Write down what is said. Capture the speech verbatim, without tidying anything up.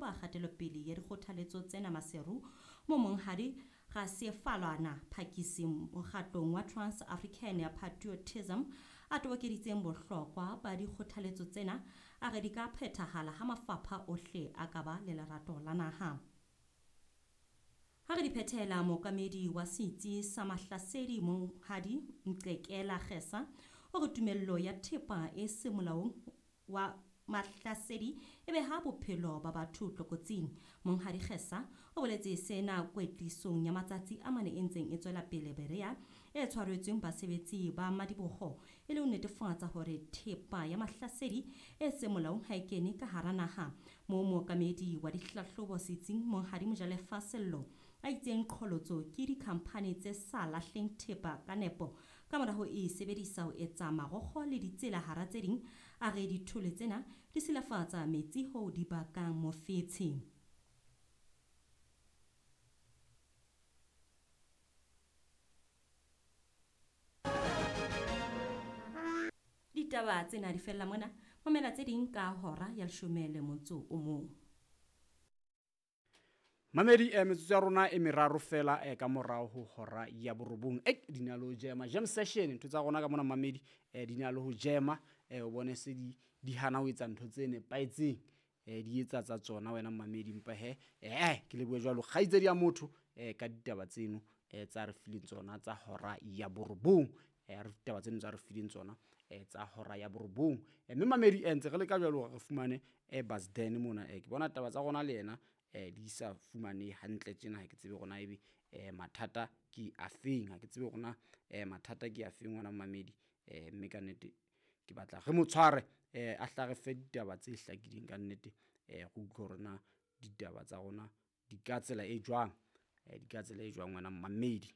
hlahloba kgatelopele ya dikgothaletso tsena Maseru, moo Monghadi Rasefalana Phakisi mokgatlong wa Trans African Patriotism a tobokeditseng bohlokwa ba dikgothaletso tsena, a re di ka phethahala ha mafapha ohle a ka ba le lerato la naha. Ha re di phethela, mookamedi wa setsi sa Mahlasedi Monghadi Mqekela Kgesa o re tumello ya thepa e seng molaong wa Mahlasedi e beha bophelo ba batho tlokotsing. Monghadi Kgesa o boletse sena kwetlisong ya matsatsi a mane e ntseng e tswela pele Berea e tshwaretsweng basebetsi ba madiboho e le ho netefatsa hore thepa ya Mahlasedi e seng molaong ha e kene ka hara naha. Moo mookamedi wa dihlahlobo setsing Monghadi Mojalefa Sello a itseng qholotso ke dikhamphani tse sa lahleng thepa ka nepo ka mora ho e sebedisa ho etsa marokgo le ditsela hara tse ding, a re dithole tsena di silafatsa metsi hoo di bakang mofetshe. Ditaba tsena di fella mona, mamela tse ding ka hora ya leshome le motso o mong. Mamedi, eh, metsotso ya rona e meraro fela eh, ka morao ho hora ya borobong. Eh, di na le ho jema jam session, ntho tsa rona ka mona mamedi, eh, di na le ho jema, eh, o bone se di, di hana ho etsa ntho tse nepahetseng, eh, di etsa tsa tsona wena mamedi. Empa he, eh, ke lebohe jwalo kgaitsedi ya motho, eh, ka ditaba tseno, eh, tsa re fileng tsona tsa hora ya borobong. Eh, re ditaba tseno tsa re fileng tsona, eh, tsa hora ya borobong. Eh, mme mamedi, eh, ntse re leka jwalo hore re fumane, eh, Basden mona. Eh, ke bona taba tsa rona le yena, eh, di sa fumane hantle tjena, ha ke tsebe hore na ebe, eh, mathata ke afeng, ha ke tsebe hore na, eh, mathata ke afeng ngwana mamedi. Eh, mme ka nnete ke batla re mo tshware, eh, a hla re fe ditaba tse hlakileng ka nnete, eh, re utlwe hore na ditaba tsa rona di ka tsela e jwang, eh, di ka tsela e jwang ngwana mamedi.